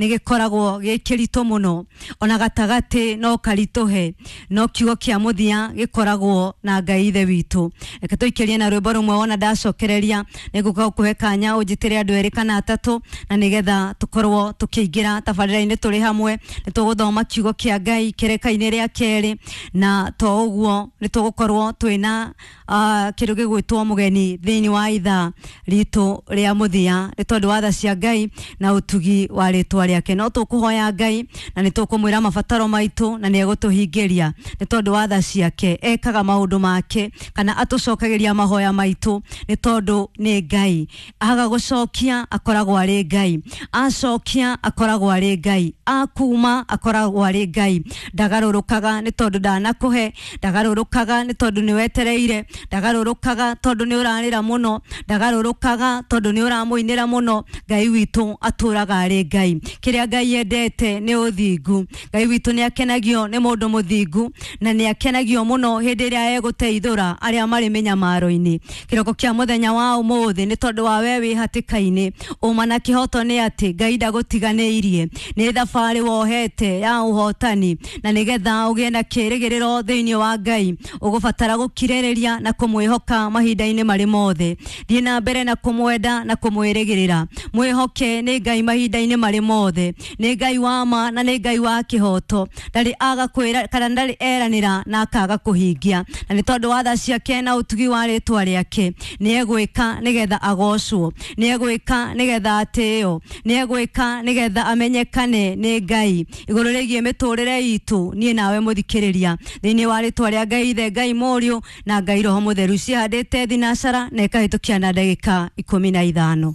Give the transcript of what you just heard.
Nĩ gĩkoragwo gĩ kĩritũ mũno, ona gatagatĩ no karitũhe, no kiugo kĩa mũthia gĩkoragwo na Ngai Ithe witũ. Reke tũikĩrie na rwĩmbo rũmwe, wona ndacokereria nĩ ngũka gũkũhe kanya ũnjĩtĩre andũ erĩ kana atatũ, na nĩgetha tũkorwo tũkĩingĩra tabarĩra-inĩ tũrĩ hamwe. Nĩ tũgũthoma kiugo kĩa Ngai kĩreka-inĩ rĩa kerĩ, na to ũguo nĩ tũgũkorwo twĩna kĩndũ gĩgwĩtwo mũgeni thĩinĩ wa ithaa ritũ rĩa mũthia, nĩ tondũ wa tha cia Ngai na ũtugi wa rĩtwa rĩake. No tũkũhoya Ngai na nĩ tũkũmwĩra mabataro maitũ, na nĩ egũtũhingĩria nĩ tondũ wa tha ciake. Ekaga maũndũ make kana atũcokagĩria mahoya maitũ nĩ tondũ nĩ Ngai. Aga gũcokia akoragwo arĩ Ngai, acokia akoragwo arĩ Ngai, akuma akoragwo arĩ Ngai. Ndagarũrũkaga nĩ tondũ ndanakũhe, ndagarũrũkaga nĩ tondũ nĩ wetereire, ndagarũrũkaga tondũ nĩ ũrarĩra mũno, ndagarũrũkaga tondũ nĩ ũramũinĩra mũno. Ngai witũ atũraga arĩ Ngai. Kĩrĩa Ngai endete nĩ ũthingu. Ngai witũ nĩ akenagio nĩ mũndũ mũthingu, na nĩ akenagio mũno hĩndĩ ĩrĩa egũteithũra arĩa marĩ mĩnyamaro-inĩ. Kĩroko kĩa mũthenya wa ũmũthĩ, nĩ tondũ wa we wĩ hatĩka-inĩ, ũma na kĩhoto nĩ atĩ Ngai ndagũtiganĩirie. Nĩ thabarĩ wohete ya ũhotani, na nĩgetha ũgĩe na kĩrĩgĩrĩro thĩinĩ wa Ngai ũgũbatara gũkirĩrĩria na kũmwĩhoka mahinda-inĩ marĩ mothe. Thiĩ na mbere na kũmwenda na kũmwĩrĩgĩrĩra. Mwĩhoke nĩ Ngai mahinda-inĩ marĩ mothe. Nĩ Ngai wa ma na nĩ Ngai wa kĩhoto. Ndarĩ aga kwĩra kana ndarĩ eranĩra na akaga kũhingia, na nĩ tondũ wa tha ciake na ũtugi wa rĩtwa rĩake nĩ egwĩka nĩgetha agocwo, nĩ egwĩka nĩgetha atĩo, nĩ egwĩka nĩgetha amenyekane nĩ Ngai igũrũ rĩgiĩ mĩtũrĩre itũ niĩ nawe mũthikĩrĩria, thĩinĩ wa rĩtwa rĩa Ngai Ithe, Ngai Mũriũ na Ngai Roho Mũtheru. Cihandĩte thinacara na ĩkahĩtũkia na ndagĩka 15.